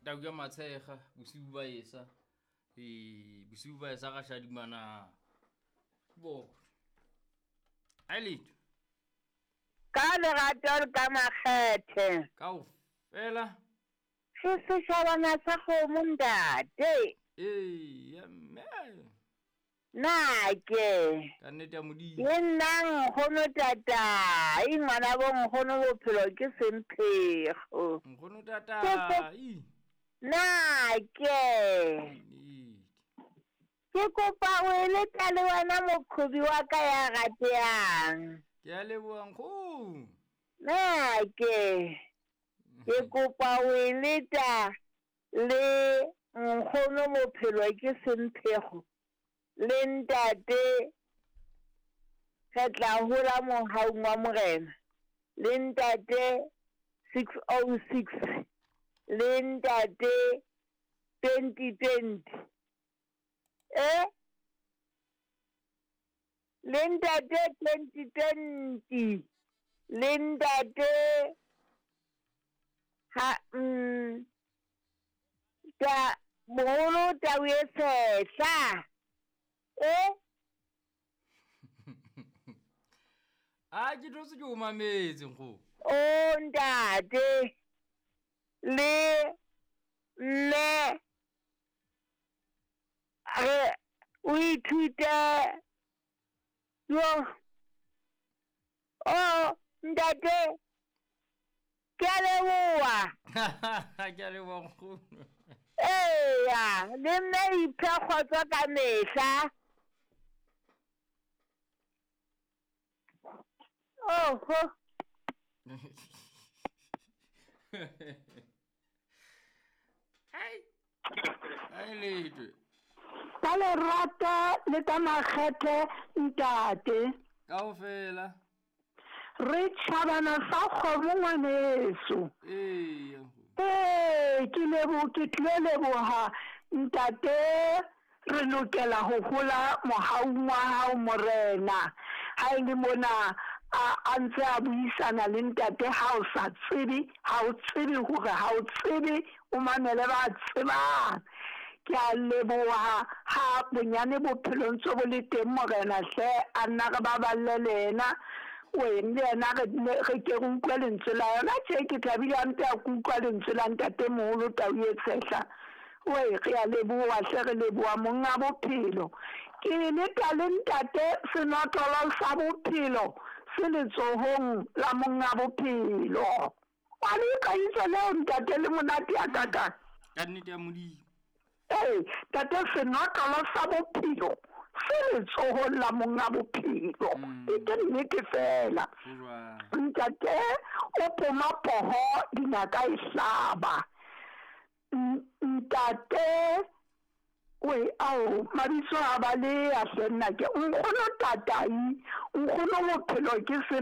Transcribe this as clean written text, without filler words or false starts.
Tau ya matshega bosiu ba esa. Ee, bosiu ba esa ga shadimana. Bo. Ai letho. Ka lerato le ka makgethe. Kaofela. Re setjhabana sa kgomo ntate. Ee, ya mme. Na ke. Ka nnete ya Modimo. Le nna nkgono tatai, ngwana bo nkgono bophelo ke semphego. Nkgono tatai. Na ke. Nnete. Ke kopa o e leta le wena moqhobi wa ka ya ratehang. Ke a leboha nkgono. Na ke. Ke kopa o e leta le nkgono bophelo ke semphego. Le ntate, re tla hola mohaung wa Morena. Le ntate 606, le ntate 2020. E? Le ntate 2020, le ntate ha mm, ta moholo tau e sehla. E? A ke thotse ke o mametse nkgo. O ntate le mme re o ithute yo o ntate ke a leboa. Ke a leboa nkgono. Eya, le nna iphe kgotso ka mehla. Oho. Ai. Ai letwe. Ka lerato le ka makgethe ntate. Kaofela. Re tšhabana sa kgomo ngwaneso. Ee. Ee, ke lebo ke tlilo leboha ntate re lokela ho hola mohaung wa hao morena ha e le mona a a ntse a buisana le ntate ha o sa tsebe ha o tsebe hore ha o tsebe o mamele ba tsebang Ke a leboha ha bonyane bophelo ntse bo le teng Morena hle a nna re baballe le yena weng le yena re nne re ke re utlwe lentswe la yona tje ke thabile hampe ha ke utlwa lentswe la ntatemoholo Tau e Tshehla wee re a leboha hle re leboha monga bophelo ke leta le ntate senotlolo sa bophelo se letsohong la monga bophelo. Wa le utlwa itso leo ntate le monate ya kakang. Ka nnete ya Modimo. Ee, tate senotlolo sa bophelo se letsohong la monga bophelo. Mm. E ke nnete fela. Ntate o poma poho dinaka e hlaba. Ntate we ao mabitso a ba le ya hle nna ke nkgono tatai nkgono bophelo ke se